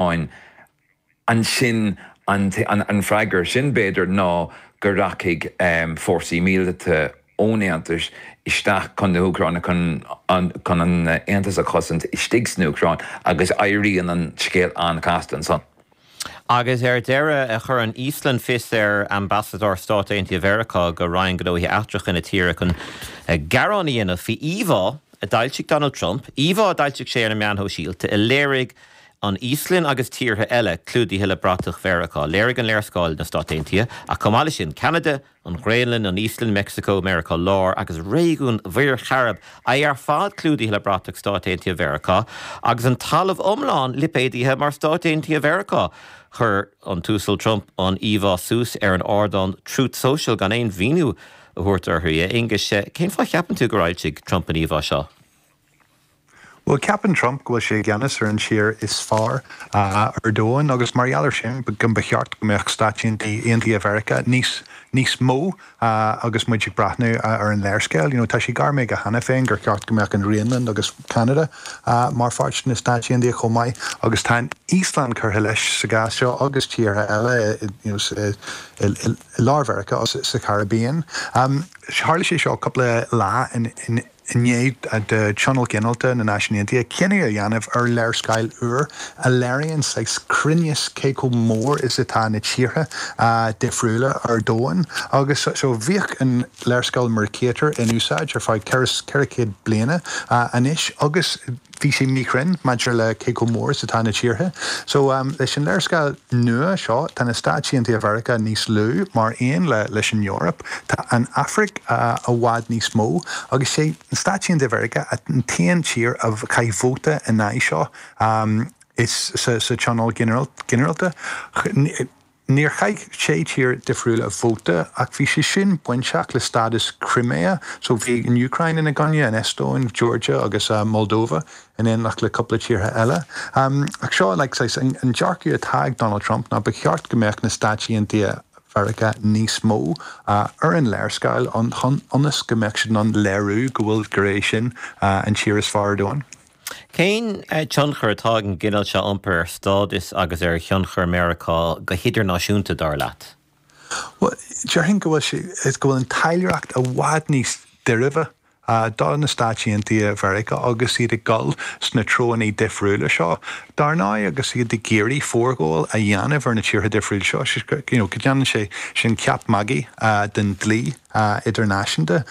Úcráin, ansin an freagra sin, b'fhéidir, ná go rachaidh fórsaí míleata ón Aontas isteach chun na hÚcráine chun an Aontas a chosaint istigh san Úcráin agus éiríonn an scéal an-chasta ansan. Agus ar deireadh, chuir an Íoslainn fios ar Ambasadóir Stáit Aontaithe Mheiriceá go Roinn Gnóthaí Eachtracha na tíre chun gearán a dhéanamh faoi íomhá a d'fhoilsigh Donald Trump, íomhá a d'fhoilsigh sé ar na meáin shóisialta a léirigh an Íoslainn agus tíortha eile clúdaithe le bratach Mheiriceá. Léirigh an léarscáil na Stáit Aontaithe, ach chomh maith leis sin, Ceanada, an Ghraonlainn, an Íoslainn, Meicsiceo, Meiriceá Láir agus réigiún Mhuir Chairib, é ar fad clúdaithe le bratach Stáit Aontaithe Mheiriceá, agus an talamh iomlán lipéadaithe mar Stáit Aontaithe Mheiriceá. Chuir an tUasal Trump an íomhá suas ar an ardán Truth Social gan aon mhíniú a thabhairt uirthi. A Aonghuis, cén fáth a cheapann tú gur fhoilsigh Trump an íomhá seo? Bhuel, ceapann Trump go bhfuil sé i gceannas ar an tír is fearr ar domhan agus mar gheall air sin go mba cheart go mbeadh Stáit Aontaithe Mheiriceá níos níos mó agus muid ag breathnú ar an léarscáil. You know, tá sé gairmithe aige cheana féin gur cheart go mbeadh an Ghraonlainn agus Ceanada mar pháirt de na Stáit Aontaithe chomh maith agus tá an Íoslainn curtha leis sa gcás seo agus tíortha eile you know, i lár Mheiriceá agus sa Chairibbean. Tharla sé seo cúpla lá in i ndiaidh do Thionól Ginearálta na Náisiún Aontaithe cinneadh a dhéanamh ar léarscáil úr a léiríonn saghas cruinneas cé chomh mór is atá na tíortha difriúla ar domhan. Agus so bhíodh an léarscáil Mercator in úsáid ar feadh 400 bliana anois agus bhí sé míchruinn maidir le cé chomh mór is atá na tíortha. So leis an léarscáil nua seo tá na Stáit Aontaithe Mheiriceá níos lú mar aon le leis an Eoraip. Tá an Afraic i bhfad níos mó agus sé na Stáit Aontaithe Mheiriceá an t-aon tír a chaith vóta in aghaidh seo is sa Tionól Ginearálta. Níor chaith sé tír difriúla vóta ach bhí sé sin bainteach le stádas Crimea, so bhí an Úcráin ina gcoinne, an Eastóin, Georgia agus Moldova in éineacht le cúpla tíortha eile. Ach seo like saghas an dearcadh atá ag Donald Trump ná ba cheart go mbeadh na Stáit Aontaithe Mheiriceá níos mó ar an léarscáil ionas go mbeadh siad in ann léiriú go bhfuil gur é sin an tír is fearr ar domhan. Cén tionchar atá ag an gcineál seo iompair ar stádas agus ar thionchar Meiriceá go hidirnáisiúnta, dar leat? Bhuel, déarfainn go bhfuil sé, go bhfuil an taidhleoireacht i bhfad níos deirbhe do na Stáit Aontaithe Mheiriceá agus iad ag dul sna treoanna difriúla seo. Dar ndóigh, agus iad ag iarraidh forghabháil a dhéanamh ar na tíortha difriúla seo, you know, go ndéanann sé sin ceap magaidh den dlí. idirnáisiúnta.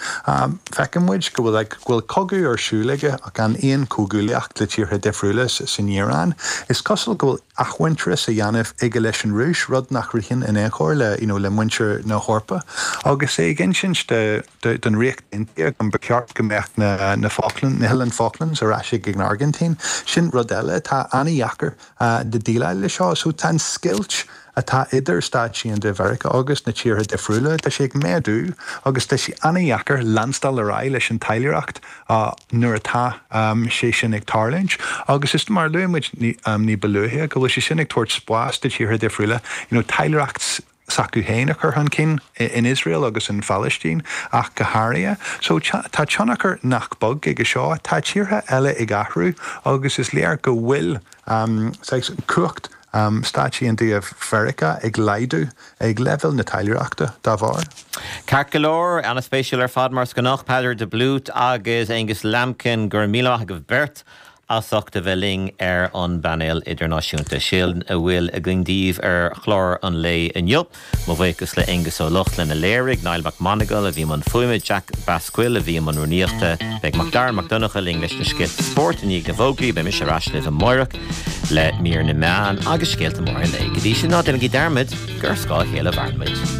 Feiceann muid go bhfuil go bhfuil cogadh ar siúl aige ach gan aon chomhghuaillíocht le tíortha difriúla san Iaráin. Is cosúil go bhfuil athmhuintearas á dhéanamh aige leis an Rúis, rud nach ritheann in aon chor le you know le muintir na hEorpa. Agus é ag insint do don Ríocht Aontaithe go mba cheart go mbeadh na na Falkland na hOileáin Falklands ar ais ag an Airgintín. Sin rud eile atá an-dheacair de déileáil leis seo. So tá an scoilt atá idir Stáit Aontaithe Mheiriceá agus na tíortha difriúla, tá sé ag méadú agus tá sé an-dheacair leanstáil ar aghaidh leis an taidhleoireacht nuair atá sé sin ag tarlúint. Agus is mar a luaigh muid ní ba luaithe go bhfuil sé sin ag tabhairt spás do tíortha difriúla you know taidhleoireacht s'acu féin a chur chun cinn in Iosrael agus in Phalaistín ach go háirithe. So tá tionchar nach beag aige seo. Tá tíortha eile ag athrú agus is léir go bhfuil saghas cumhacht Stáit Aontaithe Mheiriceá ag laghdú ag leibhéal na taidhleoireachta dá bharr. Ceart go leor, an-spéisiúil ar fad mar is gnách, Peadar de Blút agus Aonghus Lambkin, go raibh míle maith agaibh beirt as ucht a bheith linn ar an bpainéal idirnáisiúnta. Sin a bhfuil againn daoibh ar chlár an lae inniu. Mo bhuíochas le Aonghus Ó Lochlainn a léirigh, Niall Mac Monagail a bhí i mbun fuaime, Jack Basquill a bhí i mbun rúnaíochta. Beidh Mac Dara Mac Donncha linn leis na scéalta spóirt i ndiaidh na bhfógraí. Beidh mise ar ais libh amáireach le mír na meán agus scéalta móra an lae. Go dtí sin, ná déanaigí dearmad gur ar scáth a chéile a mhaireann muid.